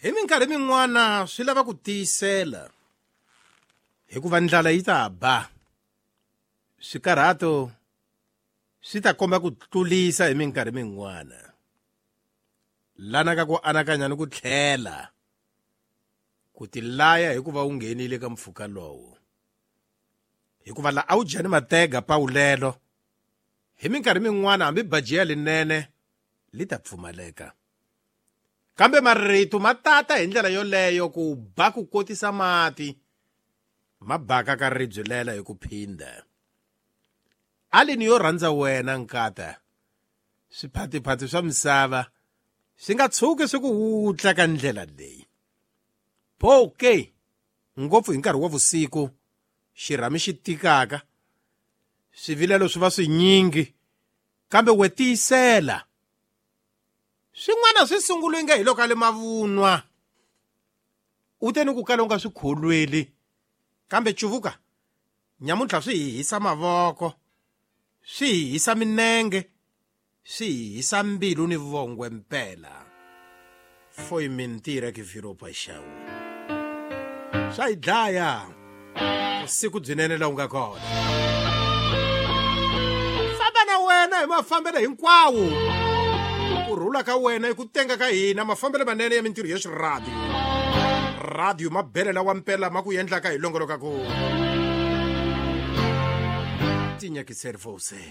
Hi minkarhi min'wana swi lava ku tiyisela hikuva ndlala yi ta ba. Swikarhato swi ta komba ku tlulisa hi minkarhi min'wana. Lana ka ku anakanya ni ku tlhela ku tilaya hikuva u nghenile ka mpfhuka lowo. Hikuva la a wu dya ni matega pawulelo hi minkarhi min'wana hambi bajiya linene li ta pfumaleka. Kambe marito ma tata hi ndlela yoleyo ku ba ku kotisa mati ma baka ka ribye lela hi ku phindha. Alini yo rhandza wena nkata swiphatiphati swa misava swi nga tshuki swi ku wutla ka ndlela leyi. Pho ke ngopfu hi nkarhi wa vusiku xirhami xi tikaka swivilelo swi va swinyingi kambe we tiyisela. Swin'wana swi sungule nge hi loko a le mavunwa u te ni ku kala u nga swi kholweli kambe cuvuka nyamuntlha swi hi hisa mavoko swi hi hisa minenge swi hi hisa mbilu ni vongwe mpela. Foi mentira que virou paixão. Swa hi dlaya vusiku byinene laha u nga kona. Famba na wena hi mafambelo hinkwawo. Ku rhula ka wena i ku tenga ka hina mafambelo manene ya mintirho ya xiradiyo. Radio mabele lawa mpela ma ku endlaka hi longoloka ku tinyakiseri você.